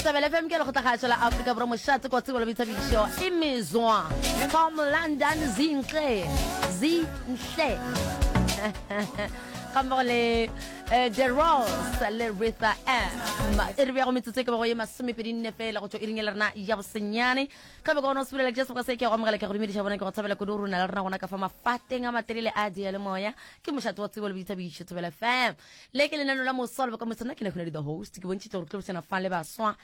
Thobela FM ke lekgotlakgašo la Afrika Borwa mošate kwa tsebo le boithabišo imizwa from London Zinhle Zinhle ga mmogo le eh, The Rose le Ritha M e re bjago metsotso e ka bago ye masomepedi nne fela go tšwa iring ya le rena ya bosenyane ka be ka gona o sepelela ke seboka se ke go amogela ke go dumediša bona ke go thabela kudu rona le rena gona ka fa mafateng a matelele a diyalemoya ke mošate wa tsebo le boithabišo Thobela FM Le ke lenaneo la moswa le bokamoso. Nna ke Nahunadi the host. Ke bontšhitše gore ke tlo bošana fa le baswa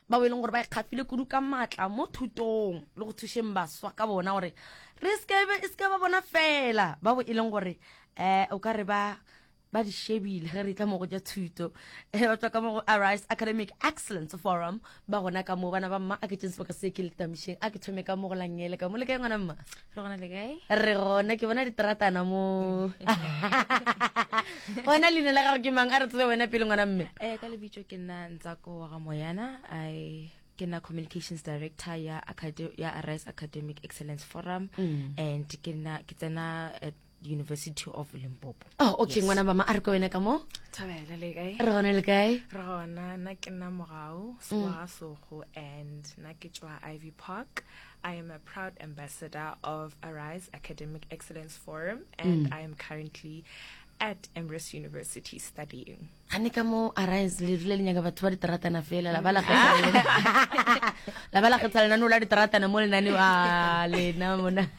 bao e leng gore ba ikgafile kudu ka maatla mo thutong le go thušeng baswa ka bona gore re se e se ba bona fela bao e leng gore um o ka re ba ba di shebile ge re tla mo go ja thuto eh, ba tswa ka mo go Arise Academic Excellence Forum ba gona ka mo bana ba mma a ke tšeng sebaka se ke le tamišeng a ke thome ka mo go langele ka mo le kae ngwana mma Re gona le kae? Re gona, ke bona diteratana mo. Wena leina la gago ke mang? A re tsebe wena pele ngwana mme. Eh, ka lebitso ke nna Ntsako wa ga Moyana. I ke nna communications director ya acad ya Arise Academic Excellence Forum mm. and ke nna ke tsena at University of Limpopo. Oh, okay, ngwana mama a re ko wena ka mo. Thabela le kae? Re gona le kae? Re gona, nna ke nna Mogau, Seboga mm. Sogo and nna ke tswa Ivy Park. I am a proud ambassador of Arise Academic Excellence Forum and mm. I am currently at Emirates University studying. Gane ka mo Arise le rile le nyaka batho ba diteratana fela la ba la la ba la kgetha lenaneo la diteratana mo lenaneo a lena mona.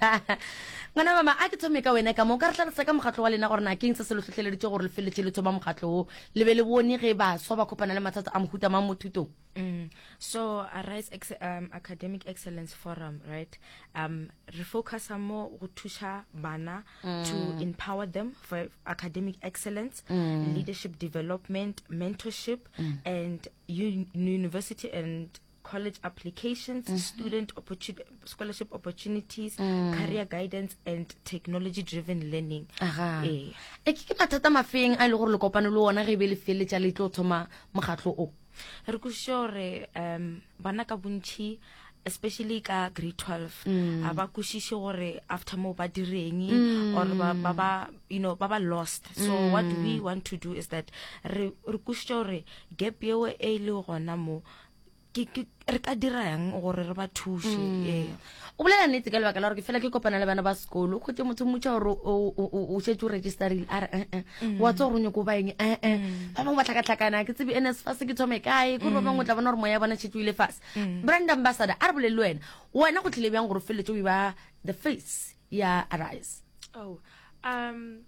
Ngwana mama a ke thome ka wena ka mo ka re tlhalosa ka mokgatlo wa lena gore na keng se se lo hlohleleditše gore le feleletše le thoma mokgatlo wo le be le bone ge baswa ba kopana le mathata a mohuta mang mo thutong. Mm. So Arise Ex um, Academic Excellence Forum, right? Um, re focus mo go thuša bana mm. to empower them for academic excellence, mm. leadership development, mentorship, mm. and university and college applications, mm -hmm. student opportun scholarship opportunities, mm. career guidance and technology driven learning. Aha. E eh. ke mathata mafeng a e le gore le kopane le ona ge e be le feleletša le tlo thoma mokgatlo o? Re kwešiše gore um bana ka bontšhi especially ka grade 12 mm. a ba kwešiše gore after mo ba direng mm. or ba ba ba you know ba ba lost so mm. what we want to do is that re re kwešiše gore gap yeo e le gona mo ke ke re ka dira yang gore re ba thuše mm. ee o bolela nnete ka lebaka la gore ke fela ke kopana le bana ba sekolo o kgwetse motho mmotsa gore o šetse o registerile a re ee mm. wa tsa gore o nyako ba eng ee mm. ba bangwe ba tlhakatlhakana ke tsebe nsfas ke thome kae kore ba bangwe o tla bona gore moya bona šetse o ile fase brand ambassador a re bolele le wena wena go tlile bjang gore o feleletse o e ba the face ya arise oh um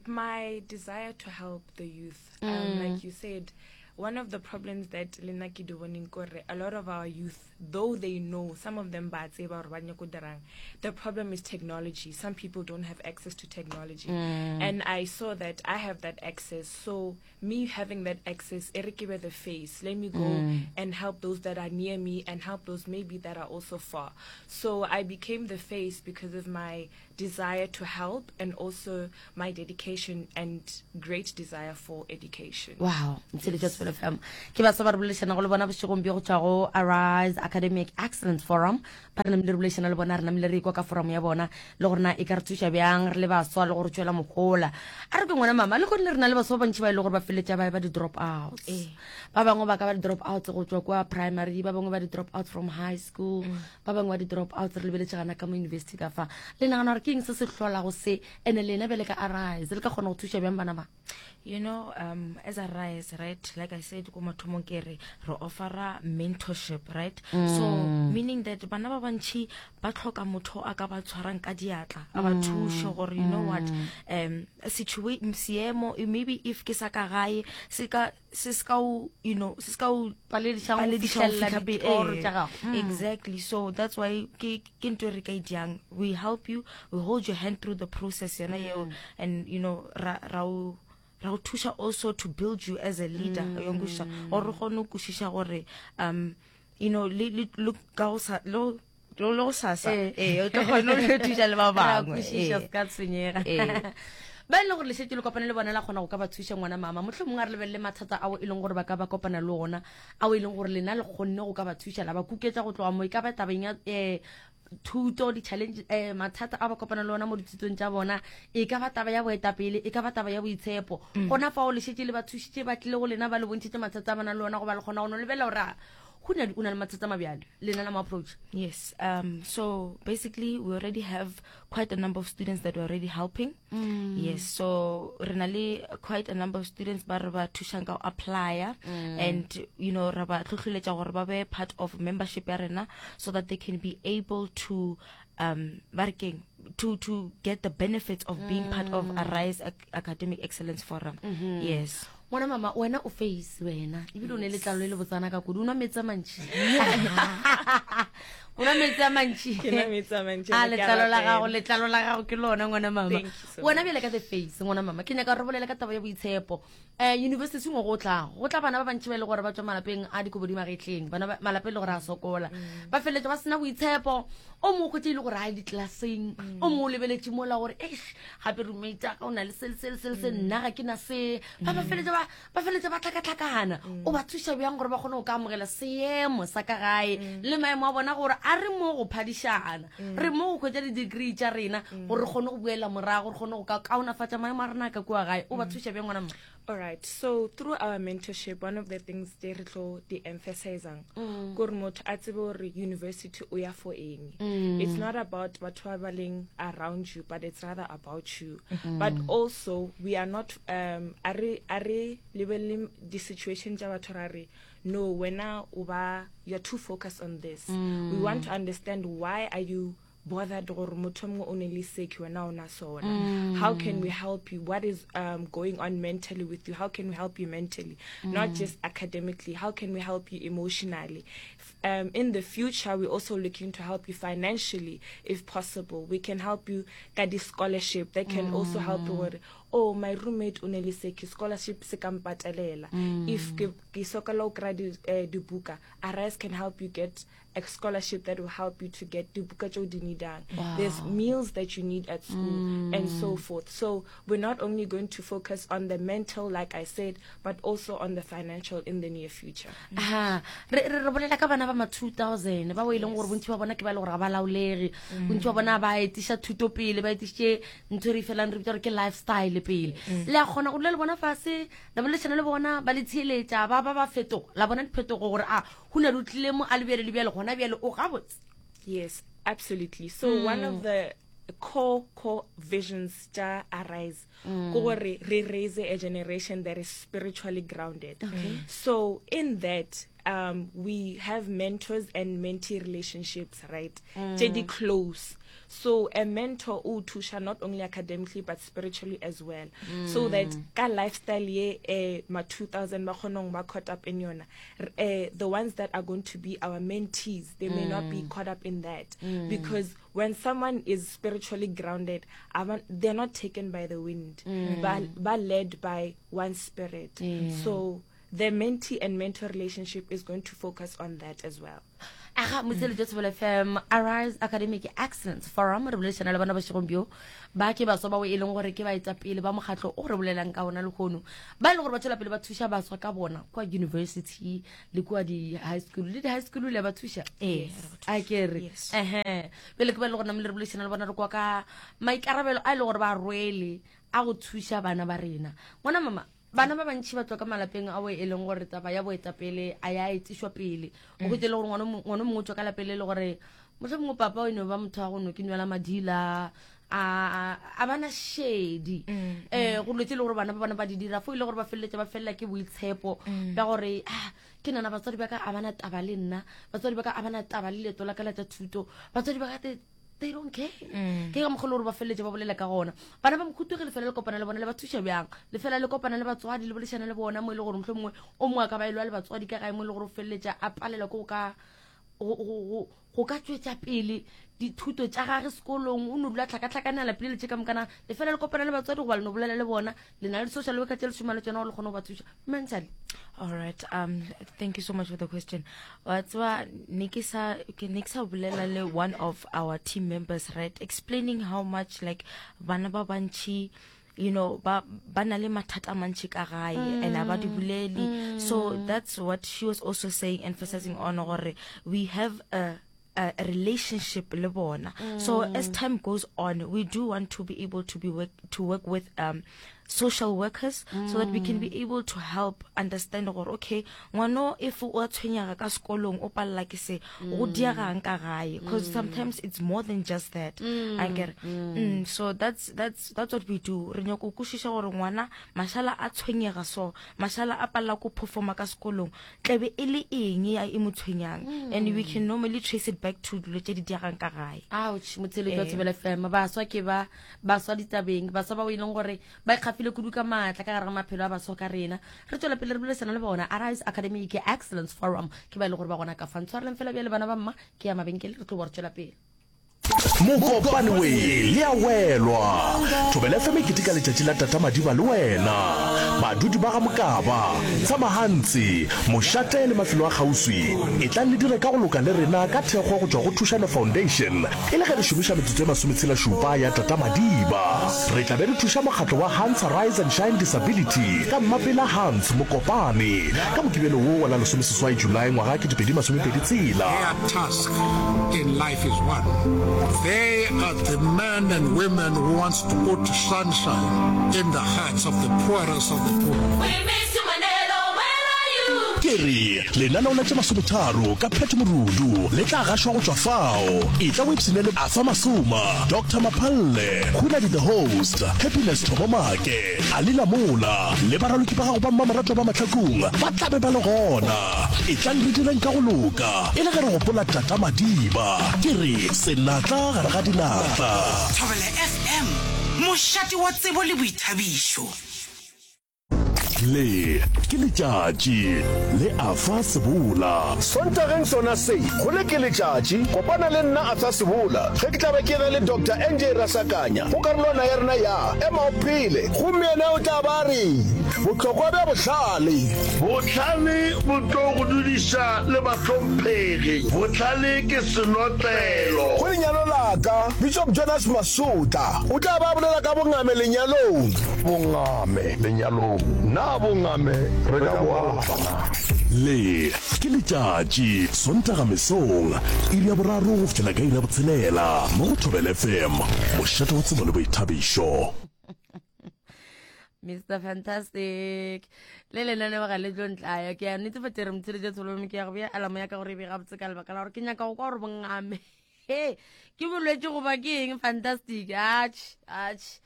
my desire to help the youth um, mm. like you said one of the problems that lena ke di boneng kore a lot of our youth though they know some of them ba tseba gore ba nyako dirang the problem is technology some people don't have access to technology mm. and i saw that i have that access so me having that access e re ke be the face let me go mm. and help those that are near me and help those maybe that are also far so i became the face because of my desire to help and also my dedication and great desire for education. Wow, Ntsheletša Sefelo FM. Ke baswa ba re boledišanago le bona bošegong bjo go tšwa go Arise Academic Excellence Forum. Ba re namile re boledišana le bona, re namile re ikwa ka forum ya bona le gore na e ka re thuša bjang re le baswa le gore tšwela mohola. A re ke ngwana mama, le kgonne re na le baswa ba bantši ba e le gore ba feleletša ba e ba di-drop outs. Eh. Ba bangwe ba ka ba di-drop outs go tšwa kwa primary, ba bangwe ba di-drop outs from high school. Mm. Ba bangwe ba di-drop outs re lebeletše gana ka mo university ka fa. Le nagana gore ke eng se se hlolago se? Ene lena bjale ka Arise le ka kgona go thuša bjang bana ba? You know, um, as Arise, right, like I said, ko mathomong ke re, re offera mentorship, right? Mm. So, meaning that bana ba bantši ba tlhoka motho a ka ba tshwarang ka diatla, a ba mm. thuše gore, you know what, mm. um, situation, seemo, maybe if ke sa ka gae, se ka, se se ka o you know se se ka o palediša go palediša go fihlelela fihla pele. ditoro Eh, tša gago Mm. exactly so that's why ke ke ntho e re ka e diang we help you we hold your hand through the process yona yeo Mm. and you know ra ra o ra o thuša also to build you as a leader mm. ya nkwešiša gore re kgone go kwešiša gore um you know le le le ka go sa le go- le go sasa Eh. ee o tlo kgone go thuša le ba Ra bangwe kwešiša ee. se ka tshwenyega Ee. ba e leng gore le šetše le kopane le bona la kgona go ka ba thuša ngwana mama mohlomongwe a re lebelele mathata ao e leng gore ba ka ba kopana le ona ao e leng gore lena le kgonne go ka ba thuša la ba kuketša go tloga mo e ka ba tabeng ya um thuto di-challenge um mathata a ba kopana le ona mo dithutong tša bona e ka ba taba ya boetapele e ka ba taba ya boitshepo gona fao le šetše le ba thušitše ba tlile go lena ba le bontšhitše mathata a ba nang le ona goba le kgona go no lebelela gore a Go na o na le mathata a mabjalo lena la mo approach. Yes, so basically we already have quite a number of students that we're already helping. Yes, so re na le quite a number of students ba re ba thušang ka go applya and you know re ba hlohleletša gore ba be part of membership ya rena so that they can be able to ba re keng to get the benefits of being part of Arise Academic Excellence Forum. Yes. Ngwana mama, wena o face wena ebile o ne letlalo le le botsana ka kudu. O nwa metsi a mantši, o nwa metsi a mantši. Ke nwa metsi a mantši, a ke a letlalo la gago, rapela. Letlalo la gago ke lona, ngwana mama. Thank you so Wena much. bjale ka the face, ngwana mama, ke nyaka gore re bolele ka taba ya boitshepo. University ngwe go tlago go tla bana ba bantši ba e le gore ba tswa malapeng a dikobo di magetleng, bana malapa e le gore a sokola, ba feleletša ba sena boitshepo. O mongwe kgwetše e le gore a ye ditlelaseng, o mongwe o lebeletše mola gore eish, gape roommate ya ka o na le se le se le se le se, nna ga ke na se. Ba ba feletša ba ba feletša ba tlhakatlhakana. O ba thuša bjang gore ba kgone go ka amogela seemo sa ka gae le maemo a bona, gore a re mo go phadišana, re mo go hwetša di-degree tša rena gore re kgone go boela morago, re kgone go ka kaonafatša maemo a rena a ka kua gae? O ba thuša bjang, ngwana mma? All right. So through our mentorship, one of the things they re tlo di emphasizang, gore motho a tsebe gore university o ya for eng. It's not about batho ba ba leng around you, but it's rather about you. But also we are not a re lebelele di situation tša batho ra re no, wena o ba you're too focused on this. We want to understand why are you bothered gore motho o mongwe o ne le se ke wena o na sona. How can we help you? What is going on mentally with you? How can we help you mentally, not just academically? How can we help you emotionally? In the future, we're also looking to help you financially if possible. We can help you ka di-scholarship that can also help you gore, oh, my roommate o ne le se ke scholarship se ka mpatelela. If ke sokola o kry-a dibuka, Arise can help you get a scholarship that will help you to get dibuka tšeo di needang. There's meals that you need at school and so forth. So we're not only going to focus on the mental, like I said, but also on the financial in the near future. Ha re re re bolela ka bana ba ma 2000 ba o e leng gore bontši ba bona ke ba e le gore ga ba laolege, bontši ba bona ba etiša thuto pele, ba etišitše ntho e re e felang re bitsa gore ke lifestyle pele. Le a kgona go dula le bona fase, la boledišana le bona, ba le theeletša, ba ba ba fetoga, la bona diphetogo gore a go na le o tlile mo a le bjale le bjale, gona bjale o gabotse? Yes, absolutely. So one of the core visions tša Arise ke gore re raise a generation that is spiritually grounded. So in that, we have mentors and mentee relationships, right? Tše di close. So a mentor o thuša not only academically but spiritually as well. So that ka lifestyle ye ma 2000 ba kgonong ba caught up in yona. The ones that are going to be our mentees, they may not be caught up in that. Because when someone is spiritually grounded, they're not taken by the wind, but led by one spirit. So the mentee and mentor relationship is going to focus on that as well. Aga motseletso Thobela FM, Arise Academic Excellence Forum, re boledišana le bona bošegong bjo. Ba ke baswa bao e leng gore ke baetapele ba mokgatlo o re bolelang ka ona lehono, ba e leng gore ba tšwela pele ba thuša baswa ka bona kua university le kua di-high school le di-high school le ba thuša. Ee, a ke re Yes. ehe pele ke ba e le gore namile re boledišana le bona, re kwa ka maikarabelo a e leng gore ba rwele a go thuša bana ba rena. Ngwana mama, bana ba bantši ba tswa ka malapeng ao e leng gore taba ya boetapele a ya etišwa pele. O hwetše le gore ngwana mongwe o tswa ka lapeng le le gore mohlomongwe papa o eno ba motho wa go no ke nwela madila, a bana šedi go dilo tse e le gore bana ba bona ba di dira, fo e le gore ba feleletša ba felela ke boitshepo bja gore ah, ke nana batswadi ba ka a bana taba le nna, batswadi ba ka a bana taba le leeto la ka la tša thuto, batswadi ba ka they don't care. Ke ka mokgwa le gore ba feleletše ba bolela ka gona. Bana ba mokhutu ge le fela le kopana le bona, le ba thuša bjang? Le fela le kopana le batswadi, le boledišana le bona mo e le gore mohlomongwe o mongwe a ka ba e lwa le batswadi ka gae, mo e le gore o feleletša a palelwa ke go ka tšwetša pele dithuto tša gage sekolong, o no dula tlhakatlhakane a lapile le tše ka mokana. Le fela le kopana le batswadi goba le no bolela le bona? Le na le social worker tše le šoma le tsona gore le kgone go ba thuša mentally? All right. Thank you so much for the question. Wa tseba, ne ke sa ke ne ke sa bolela le one of our team members, right, explaining how much like bana ba bantši ba na le mathata a mantši ka gae and a ba di bolele. So that's what she was also saying, emphasizing on gore we have a relationship le bona. So as time goes on, we do want to be able to be work, to work with. social workers mm. so that we can be mm. able to help understand gore okay ngwano if o a tshwenyega ka sekolong o palela ke se go mm. diegang ka gae because mm. sometimes it's more than just that mm. I get mm. Mm, so that's that's that's what we do re nyako kwešiša gore ngwana mashala a tshwenyega so mashala a palela ko performa ka sekolong tlabe e le eng ya e mo tshwenyang mm. and we can normally trace it back to dilo tse di diegang ka gae ouch motsheletso wa eh. Thobela FM baswa ke ba baswa ditabeng baswa bao e leng gore ba ikgafile kudu ka maatla ka gare ga maphelo a baswa ka rena re tswela pele re bolesana le bona Arise Academic Excellence Forum ke ba e leng gore ba gona ka fa ntshwareleng fela bjale bana ba mma ke ya mabenkele re tlo bo re tswela pele Mokopane we le a welwa. Thobela FM e keteka letšatši la Tata Madiba le wena. Badudi ba ga Mokaba, Tshamahantsi, Mošate le mafelo a kgauswi, etlang le dire ka go loka le rena ka thekgo go tšwa go Thušano Foundation E le ge re šomiša metsotso e masometshela-šupa ya Tata Madiba, re tla be re thuša mokgatlo wa Hans Rise and Shine Disability ka Mmapela Hans Mokopane ka Mokibelo wo wa la lesomeseswai Julae ngwaga 2026. Their task in life is one, they are the men and women who wants to put sunshine in the hearts of the poorest of the poor. We miss you Manelo, where are you? Ke re Lenaneo la tše masometharo ka Pat Morudu le tla gašwa go tšwa fao. Etla o ipshine le Arthur Masoma, Doctor Maphalle, Hunadi the Host, Happiness Thobo Make, Ali Lamola le baraloki ba gago ba mmamoratwa ba Mahlakung ba tla be ba le gona. Etlang re direng ka go loka e le ge re gopola Tata Madiba. Ke re senatla gare ga dinatla. Thobela FM, mošate wa tsebo le boithabišo. Le ke letšatši le Arthur Sebola. Sontageng sona se, go le ke letšatši, kopana le nna Arthur Sebola ge ke tla be ke ena le Doctor NJ Rasakanya go karolwana ya rena ya Ema o Phele. Gomme yena o tla ba a re, Bohlokwa bja bohlale. Bohlale bo tlo go dudiša le bahlomphegi, bohlale ke senotlelo. Go lenyalo la ka, Bishop Jonas Masotla o tla ba a bolela ka bongame lenyalong. Bongame lenyalong, na bongame re ka bo alafa na? Le ke letšatši, Sontaga mesong, iri ya boraro go fihlela ka iri ya botshelela, mo go Thobela FM, mošate wa tsebo le boithabišo. Mr Fantastic le lenaneo ga le tlo ntlaya ke a netefatša re motsheletša tsholome ke ya go bea alamo ya ka gore e be gabotse ka lebaka la gore ke nyaka go kwa gore bongame He, ke bolwetši goba ke eng fantastic atšh atšh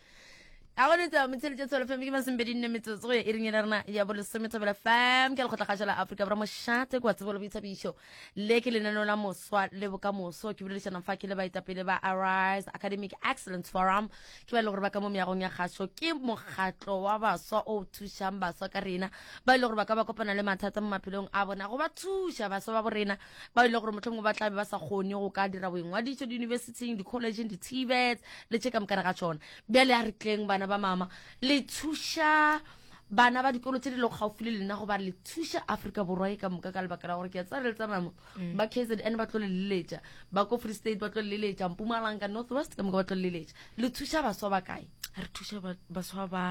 a go netsa motsheletše tsholo fm ke masomepedi nne metsotso go ya iring e le rena ya bolesome thobela fm ke lekgotlakgašo la afrika borwa mošate kwa tsebo le boithabišo le ke lenaneo la moswa le bokamoso ke boledišanang fa ke le baetapele ba arise academic excellence forum ke ba e le gore ba ka mo meagong ya kgašo ke mokgatlo wa baswa o thušang baswa ka rena ba e le gore ba ka ba kopana le mathata mo maphelong a bona go ba thuša baswa ba borena ba e le gore mohlomongwe ba tlabe ba sa kgone go ka dira boingwadišo diyunibesithing di-collegeng di-tvets le tše ka mokana ga tšona bjale a re tleng bana ba mama le thuša bana ba dikolo tse di lego gaufi le lena goba le thuša afrika borwa e ka moka ka lebaka la gore ke a tsaya le tsamamo mm. ba kzn ba tlo le leletša ba ko free state ba tlo le leletša mpumalanga north west ka moka ba tlo le leletša le thuša baswa ba kae re thuša baswa ba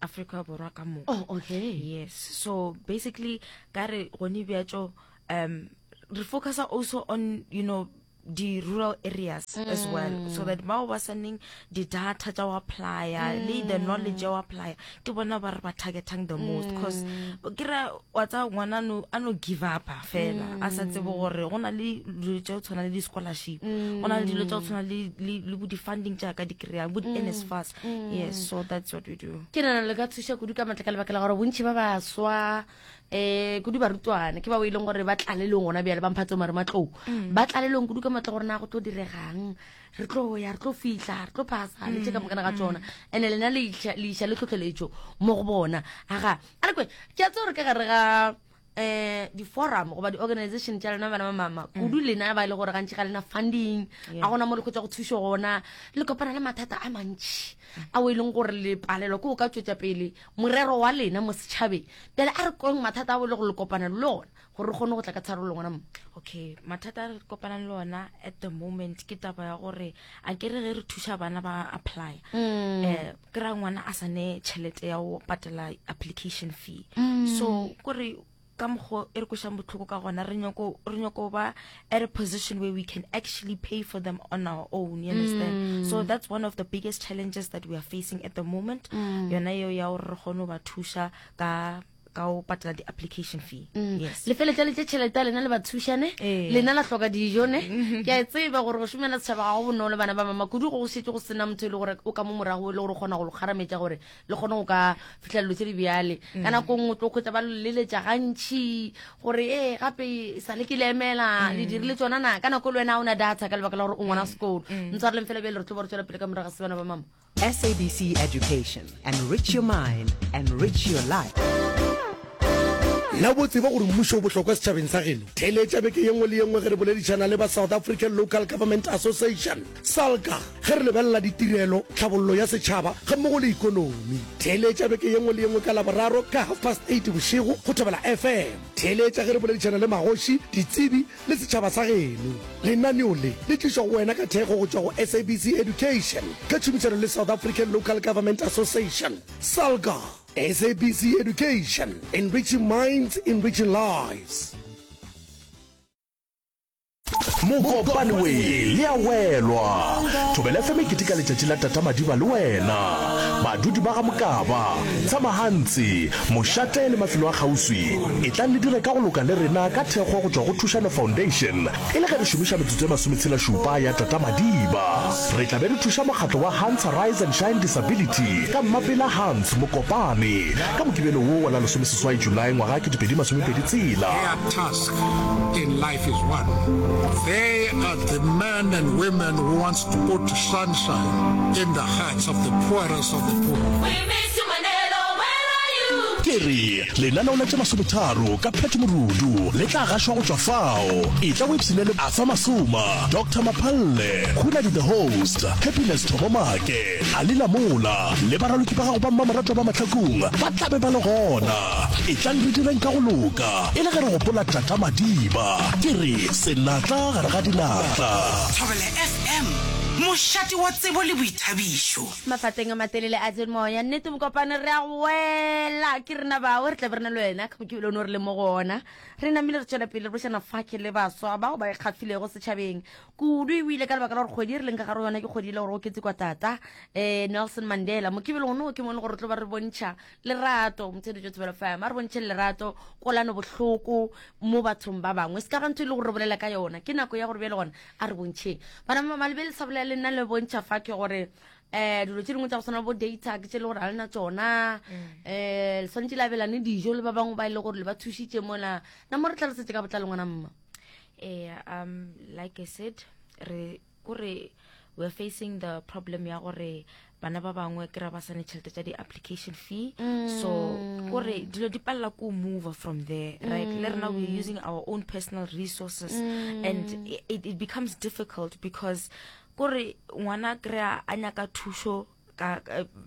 Afrika Borwa ka moka. Oh, okay. Yes. So basically ka re gone bjatšo um re focus also on you know di rural areas mm. as well so that bao ba saneng di data tša go applya mm. le the knowledge ya go applya ke bona ba re ba targetang the most because mm. ke ra wa tsa ngwana no a no give up fela mm. a sa tsebe gore go na le dilo tša go tshwana le di scholarship mm. go na le dilo tša go tshwana le le bo di funding tša ka di kry-ang bo di mm. NSFAS mm. yes so that's what we do ke nana le ka thuša kudu ka matla ka lebaka la gore bontši ba baswa um kudu barutwana ke bao e leng gore ba tlalelong gona bjale ba mphatse mare matlou mm. ba tlalelong kudu ka matla gore na go tlo diregang re tlo ya re tlo fihla re tlo phasa le tše ka mokana ga tsona and-e lena le iša le tlhotlheletšo mo go bona aga a re kwe ke a tse gore ka gare ga um di-forum goba di-organization tša lena bana ba mama mm. kudu lena ba e le gore gantši ga lena funding a gona mo le kgotsa go thušo gona le kopana le mathata a mantši a o e leng gore le palelwa ke o ka tswetša pele morero wa lena mo setšhabeng bjale a re kweng mathata a o e le gore le kopana le ona gore re kgone go tla ka tharollo ngwana mo okay mathata a re kopanang le ona at the moment ke taba ya gore a ke re ge re thuša bana ba apply um ke ra ngwana a sa ne tšhelete ya go patela application fee mm. so kore ka mokgo e re kwešang bohloko ka gona re nyako re nyako ba at a position where we can actually pay for them on our own you understand mm. so that's one of the biggest challenges that we are facing at the moment mm. yona yeo ya gore re kgone go ba thuša ka ka o patela di-application fee mm. yes le feletša le tše tšhelete ya lena le ba thušane Ee. lena la hloka dijo ne ke a e tseba gore go šomela setšhaba ga go bonolo bana ba mama kudu go go šetše go sena motho e le gore o ka mo morago e le gore o kgona go le kgarametša gore le kgone go ka fitlha dilo tse di bjale ka nako nngwe tlo kgwetsa ba leletša gantšhi gore ee gape e sa le ke le emela le dirile tsona na ka nako le wena o na data ka lebaka la gore o ngwana sekolo ntshwareleng fela bjale re tlo ba re tswela pele ka morago ga sebana ba mama SABC Education. Enrich your mind, enrich your life. Na bo tseba gore mmušo o bohlokwa setšhabeng sa geno? Theeletša beke ye nngwe le ye nngwe ge re boledišana le ba South African Local Government Association, SALGA, ge re lebelela ditirelo, tlhabollo ya setšhaba gammogo le ikonomi. Theeletša beke ye nngwe le ye nngwe ka Laboraro ka half past eight bošego go Thobela FM. Theeletša ge re boledišana le magoši, ditsebi le setšhaba sa geno. Lenaneo le le tlišwa go wena ka thekgo go tšwa go SABC Education ka tšhomišano le South African Local Government Association, SALGA. SABC Education, enriching minds, enriching lives. Mokopane we le a welwa. Thobela FM e keteka letšatši la Tata Madiba le wena. Badudi ba ga Mokaba, Tshamahantsi, Mošate le mafelo a kgauswi, etlang le dire ka go loka le rena ka thekgo go tšwa go Thušano Foundation e le ge re šomiša metsotso e masometshela-šupa ya Tata Madiba. Re tla be re thuša mokgatlo wa Hans Rise and Shine Disability ka Mmapela Hans Mokopane ka Mokibelo wo wa la lesomeseswai Julae ngwaga 2026. Their task in life is one. They are the men and women who wants to put sunshine in the hearts of the poorest of the poor. We miss you Manelo, where are you? Ke re lenaneo la tše masometharo ka Pat Morudu le tla gašwa go tšwa fao. Etla o ipshine le Arthur Masoma, Doctor Maphalle, Khunadi the Host, Happiness Thobo Make, Ali Lamola le baraloki ba gago ba mmamoratwa ba Mahlakung ba tla be ba le gona. Etlang re direng ka go loka e le ge re gopola Tata Madiba. Ke re senatla gare ga dinatla. Thobela FM, mošate wa tsebo le boithabišo. Mafateng a matelele a Moya nnete mokopane re a go wela ke rena bao re tla be re na le wena ka mokibelo o ne re le mo go ona re namile re tšwela pele re bošana fake le baswa bao ba ikgafilego setšhabeng kudu ebile ka lebaka la gore kgwedi e re leng ka gare yona ke kgwedi e le gore go ketse kwa tata um nelson mandela mokibelo ono ke mo e le gore tlo ba re bontšha lerato motsheletso tsebelo fam a re bontšhe lerato kolano bohloko mo bathong ba bangwe se ka ga ntho e le gore re bolela ka yona ke nako ya gore bjale gona a re bontšheng bana ba malebe le sa bolela le nna le bontšha fa ke gore um dilo tse dingwe tsa go tshwana bo data ke tse e le gore ga le na tsona um le tshwanetse le abelane dijo le ba bangwe ba e le gore le ba thušitše mola na mo re tlhalosetse ka botlalo ngwana mma ee um like i said re kore we're facing the problem ya gore bana ba bangwe ke ra ba sane tšhelete tša di-application fee mm. so kore dilo di palela ko move from there mm. right le rena we're using our own personal resources mm. and it, it becomes difficult because kore ngwana kry-a a nyaka thušo ka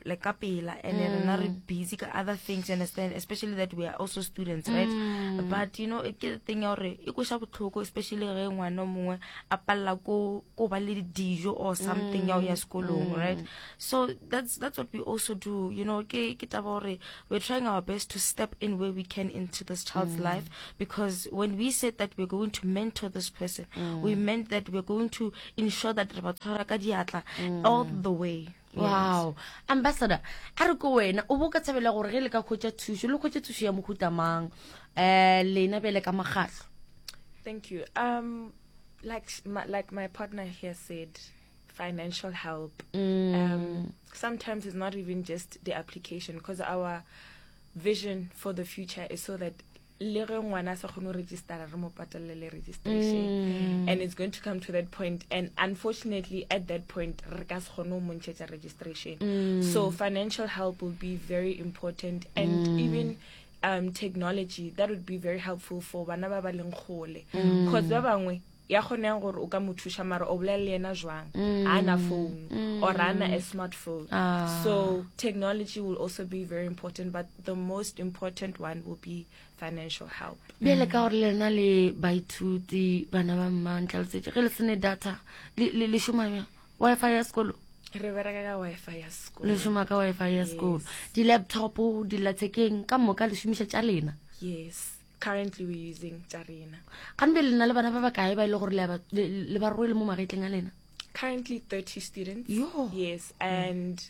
like ka pela and mm. rena re busy ka other things you understand especially that we are also students right mm. but you know ke thing ya gore e kweša bohloko especially ge ngwana mongwe a palela ko ko ba le dijo or something ya ya sekolong mm. right so that's that's what we also do you know ke ke taba gore we're trying our best to step in where we can into this child's mm. life because when we said that we're going to mentor this person mm. we meant that we're going to ensure that re ba tshwara ka diatla mm. all the way wow ambassador a re ko wena o bo ka tshabela gore ge le ka khwetša thušo le khwetše thušo ya mohuta mang um lena bjale ka mokgatlo thank you um like my, like my partner here said financial help mm. um sometimes it's not even just the application because our vision for the future is so that le ge ngwana a sa kgone go registera re mo patelele registration mm. and it's going to come to that point and unfortunately at that point re ka se kgone go mo ntšhetša registration mm. so financial help will be very important and mm. even um, technology that would be very helpful for bana ba ba leng kgole because mm. ba bangwe ya kgoneng gore o ka mo thuša mara o bolela le yena jwang mm. a na phone mm. or a na a smartphone ah. so technology will also be very important but the most important one will be financial help bjale ka gore lena le baithuti bana ba mma ntlalosetše ge le sene data le šoma bjang wifi ya sekolo re bereka ka wifi ya sekolo le šoma ka wifi ya sekolo di-laptop dillathekeng ka moka le šomiša tša lena yes. Currently we're using tša rena. Gane bjale le na le bana ba bakae ba e le gore le a ba le ba rwele mo magetleng a lena? Currently 30 students. Yo. Yes, and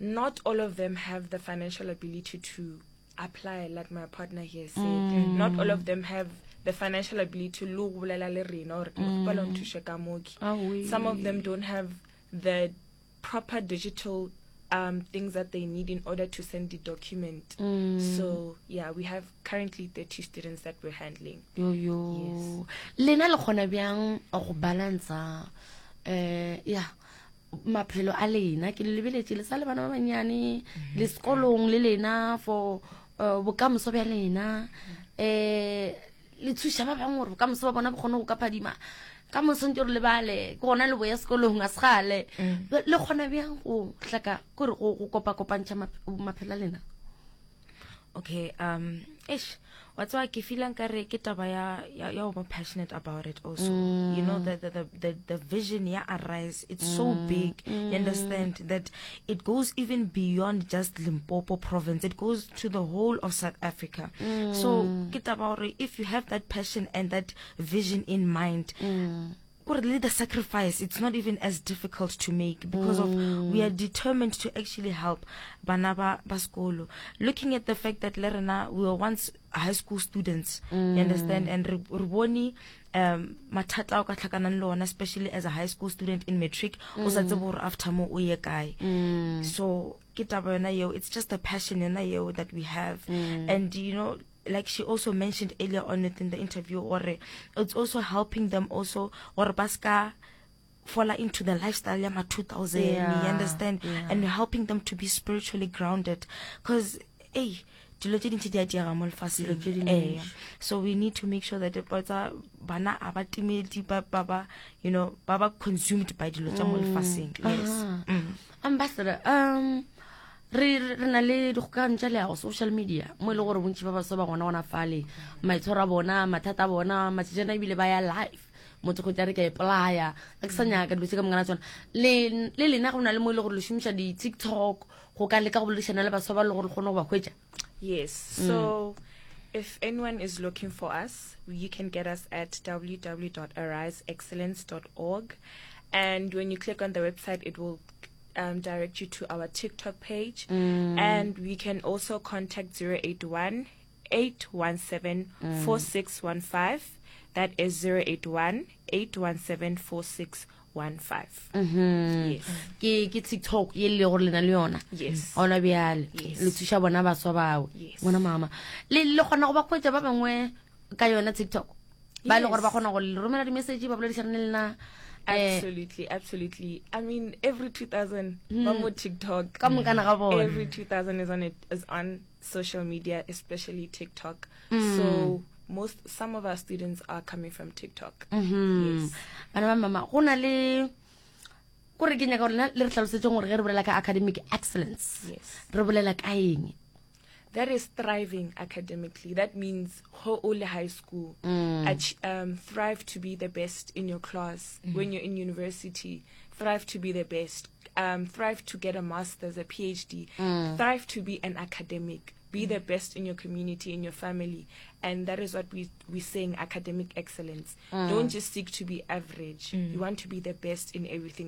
not all of them have the financial ability to apply like my partner here said. Mm. Not all of them have the financial ability le go bolela le rena gore ke kgopela o mm. nthuše ka mooki. Some of them don't have the proper digital um, things that they need in order to send the document. Mm. So yeah, we have currently 30 students that we're handling. Yo yo. Yes. Lena le kgona bjang go balansa eh yeah maphelo a lena ke le lebeletše le sa le bana ba bannyane mm-hmm. le sekolong le lena for uh, bokamoso bja lena um le thuša ba bangwe gore bokamoso ba bona bo kgone go ka phadima ka moso ntse re lebale ke gona le boya sekolong a segale mm. le kgona bjang go hlaka kore go kopa-kopantšha maphelo a lena okay um eish wa tseba ke feelang ka re ke taba ya ya ya go ba passionate about it also mm. you know the the the the, the vision ya arise it's mm. so big mm. you understand that it goes even beyond just Limpopo province it goes to the whole of South Africa mm. so ke taba gore if you have that passion and that vision in mind mm. gore le the sacrifice it's not even as difficult to make because mm. of we are determined to actually help bana ba ba sekolo looking at the fact that le rena we were once high school students mm. you understand and re bone um mathata a o ka tlhakanang le ona especially as a high school student in matric o sa mm. tsebe gore after mo o ye kae mm. so ke taba yona yeo it's just a passion yona yeo that we have mm. and you know like she also mentioned earlier on within the interview or it's also helping them also or baska fall into the lifestyle ya ma 2000 yeah, you understand yeah. and helping them to be spiritually grounded because hey dilo tše dintši di a diega mo lefaseng ee so we need to make sure that tsa bana a ba timedi ba ba you know ba ba consumed by dilo tša mo mm. lefaseng yes mm. ambassador um re re na le dikgokagano tša leago social media mo e le gore bontši ba baswa ba gona gona fale maitshwaro a bona mathata a bona matšatšana ebile ba ya life motho go re ke a ipolaya a ke sa nyaka dilo tse ka mongana tsona le le lena go na le mo e le gore le šomiša di-tiktok go ka leka go boledišana le baswa ba le gore le kgone go ba hwetša yes so mm. If anyone is looking for us, you can get us at www.ariseexcellence.org. And when you click on the website, it will um, direct you to our TikTok page. Mm. And we can also contact 081 817 mm. 4615. That is 081 817 4615. Mm-hmm. Yes. Ke ke TikTok ye le gore lena le yona. Yes. Ona bjale. Le thuša bona baswa bao. Bona mama. Le le kgona go ba khwetša ba bangwe ka yona TikTok. Ba le gore ba kgona go le romela di message ba boledišana le lena. Eh, absolutely, absolutely. I mean, every 2000 mm. ba mo TikTok. Ka mokana ga bona. Every 2000 is on it is on social media, especially TikTok. Mm. So most some of our students are coming from TikTok. Mm -hmm. Yes. Bana ba mama, go na le kore ke nyaka gore le re tlhalosetseng gore ge re bolela ka academic excellence yes. re bolela ka eng that is thriving academically that means go o le high school mm. um, thrive to be the best in your class mm. when you're in university thrive to be the best um, thrive to get a master's a phd mm. thrive to be an academic be the best in your community in your family and that is what we we're saying academic excellence mm. don't just seek to be average mm. you want to be the best in everything.